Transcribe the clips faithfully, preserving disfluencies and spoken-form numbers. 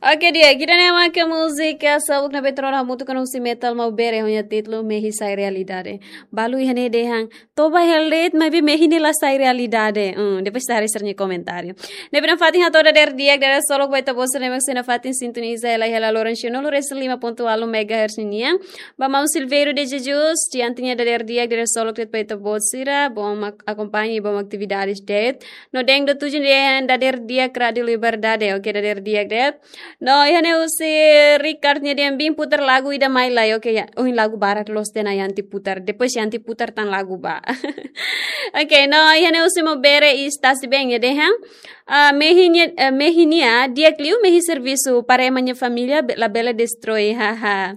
Oke, di'ak, ida-ne'e mak múzika seluk ne'ebé tuur ona hamutuk ho husi Metal Maubere ho nia títulu Mehi Sai Realidade. Balu iha ne'e dehan, toba hela de'it, maibé mehi ne'e la sai realidade. Hmm, depois ita haree sira-nia komentáriu. Ne'ebé nafatin hato'o dadeer di'ak, dadeer solok ba ita-boot sira ne'ebé sei nafatin sintoniza hela iha Laloran cem nol resin lima ponto ualu megahertz nian. Ba maun Silveiro de Jesus, diante nia dadeer di'ak, dadeer solok de'it ba ita-boot sira, bom ak-, akompaña i bom atividades de'it. No Deng do Tuju dehan dadeer di'ak Rádio Liberdade, oke, dadeer di'ak de'it. No, iha ne'e husi Ricard nia dehan bin putar lagu ida mai lai, oke, ya. Ohin lagu barak loos tiha ona Yanti putar. Depois Yanti putar tan lagu ba. Oke, no, iha ne'e husi Maubere i Stasi Beng nia dehan. Ah, mehi nia, eh, mehi nia, di'ak liu mehi servisu para ema nia família be-, labele destroi, haha.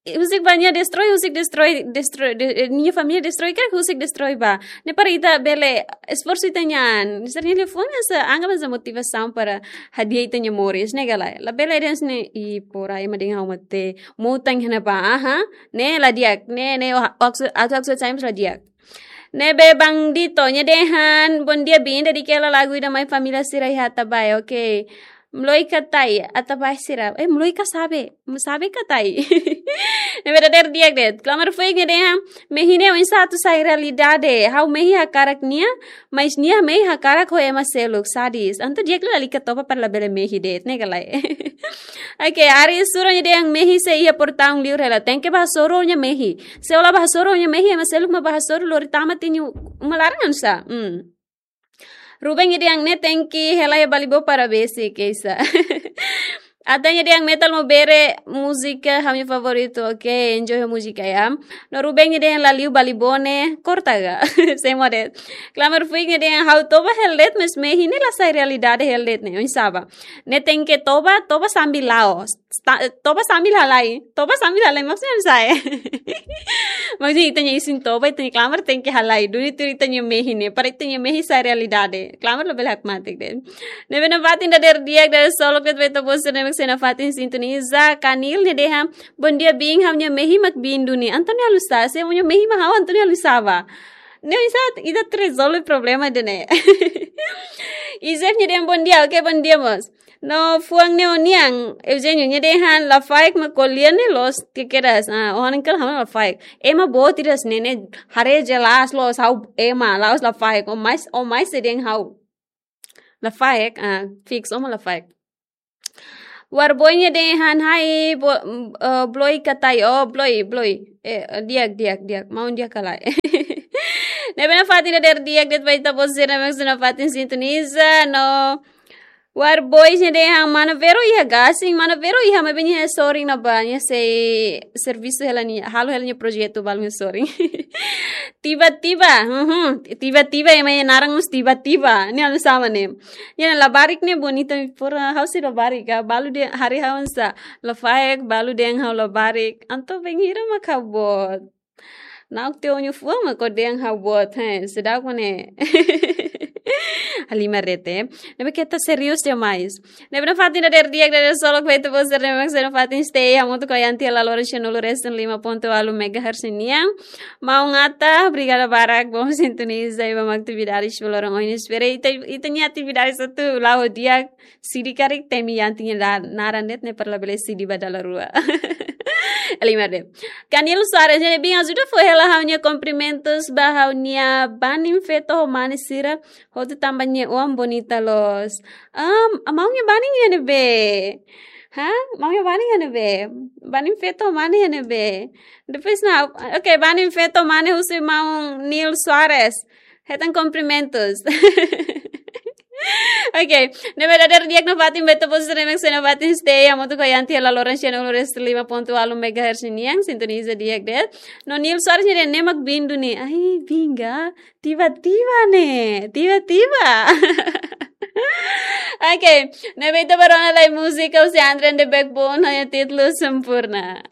Husik ba nia destroi, husik destroi, destroi, de-, eh, nia família destroi, karik husik destroi ba. Ne'e para ita bele esforsu ita-nian. Sira-nia liafuan hanesan, anggap hanesan motivasaun para hadi'a ita-nia moris, ne'e ka lae. Labele dehan hanesan ne'e, i pora ema dehan ha'u mate, mutang hena ba, aha. Ne'e la di'ak, ne'e, ne'e, o, o, aksu, aksu, aksu, times la di'ak. Ne'ebé Bandito nia dehan, bom dia bin, dedika hela lagu ida mai família sira iha Atabae, oke. Mloi ka tai, Atabae sira. Eh, mloi ka sabe? Sabe ka tai? Ne'ebé dadeer di'ak de'it. Klamar Fuik nia dehan, mehi ne'e oinsá atu sai realidade. Ha'u mehi hakarak nia, mais nia mehi hakarak ho ema seluk, sadis. Entaun di'ak liu lalika toba para labele mehi de'it, ne'e ka lae. Oke, Ari Sura nia dehan mehi sei iha portaun liur hela. Tenke bá hasoru nia mehi. Se ó la bá hasoru nia mehi, ema seluk mak bá hasoru lori tama tiha nia uma laran hanesan. Hmm. Ruben nia dehan ne'e tenke hela iha Balibó para besik, keisa. Atan nia dehan Metal Maubere múzika ha'u-nia favoritu, oke, enjoy ho múzika ya. No Ruben nia dehan la liu Balibó ne'e, korta ga. Sei moe de'it. Klamar Fuik nia dehan ha'u toba hela de'it, mais mehi ne'e la sai realidade hela de'it ne'e, oinsá ba. Ne'e tenke toba, toba sambil la'o. Sta-, toba sambil halai. Toba sambil halai, maksudnya oinsá? Maksudnya ita-nia isin toba, ita-nia klamar tenke halai. Duni tuir ita-nia mehi ne'e. Para ita-nia mehi sai realidade. Klamar labele hakmatek de'it. Ne'ebé nafatin dadeer di'ak, dadeer solok de'it ba ita-boot sira ne'ebé sei nafatin sintoniza. Kanil nia dehan, bom dia bin, ha'u-nia mehi mak bin duni. Entaun ne'e halo sá, se ha'u-nia mehi mak ha'u, entaun ne'e halo sá ba. Ne'e oinsá ita atu rezolve problema ida-ne'e. Izef nia dehan bom dia, oke, bom dia, mós. No fuan ne'e ó-nian, Eugênio, nia dehan lafaek mak ko'alia ne'e loos kekedas. Ah, ó-nia kal hama lafaek. Ema boot ida hanesan ne'e, haree jelas loos ha'u ema, la'ós lafaek. Ó mais, ó mais sei dehan ha'u lafaek, ah, fix, ó mak lafaek. Warboy nia dehan hai, bo-, eh, Bloi ka tai, oh, Bloi, Bloi. Eh, di'ak, di'ak, di'ak. Maun di'ak ka lae. Ne'ebé nafatin dadeer di'ak de'it ba ita-boot sira ne'ebé sei nafatin sintoniza, no. Warboy nia dehan mana Vero iha gasing, mana Vero iha, maibé nia sorin ne'ebá, nia sei servisu hela nia, halo hela nia projetu balu nia sorin. Tiba-tiba, mhm, tiba-tiba, ema nia naran mós tiba-tiba. Ne'e halo sá mak ne'e. Nia labarik ne'e bonita, pura ha'u sei labarik, ah, balu dehan haree ha'u hanesan lafaek, balu dehan ha'u labarik. Entaun bainhira mak ha'u boot. Na'ok tiha ó-nia fuan mak ó dehan ha'u boot, he, seidauk mak ne'e. Halimar de'it. Ne'ebé keta serius demais. Ne'ebé nafatin dadeer di'ak, dadeer solok ba ita-boot sira ne'ebé sei nafatin stay hamutuk ho Yanti iha Laloran cem nol resin lima ponto ualu megahertz nian. Maun Ata, obrigada barak, bom sintoniza i bom atividades ba loron ohin. Espera ita, ita-nia atividades atu la'o di'ak, sidi karik temi Yanti nia la-, naran de'it ne'e para labele sidi ba dala rua. Halimar de'it. Kanil Soares, nia dehan bin ajuda fó hela ha'u-nia kumprimentus ba ha'u-nia banin feto ho mane sira, hotu tanba nia oan bonita loos. Ah, maun nia banin iha ne'ebé? Ha? Maun nia banin iha ne'ebé? Banin feto ho mane iha ne'ebé? Depois na, oke, banin feto ho mane husi maun Nil Soares. Hetan kumprimentus. Oke, ne'ebé dadeer di'ak nafatin ba ita-boot sira ne'ebé sei nafatin stay hamutuk ho Yanti iha Laloran cem nol resin lima ponto ualu megahertz nian, sintoniza di'ak de'it. No Nil Soares nia dehan ne'e mak bin duni. Ai, bin ga. Tiba-tiba ne'e, tiba-tiba. Oke, ne'ebé ita bá rona lai múzika husi Andre and the Backbone ho nia títulu Sempurna.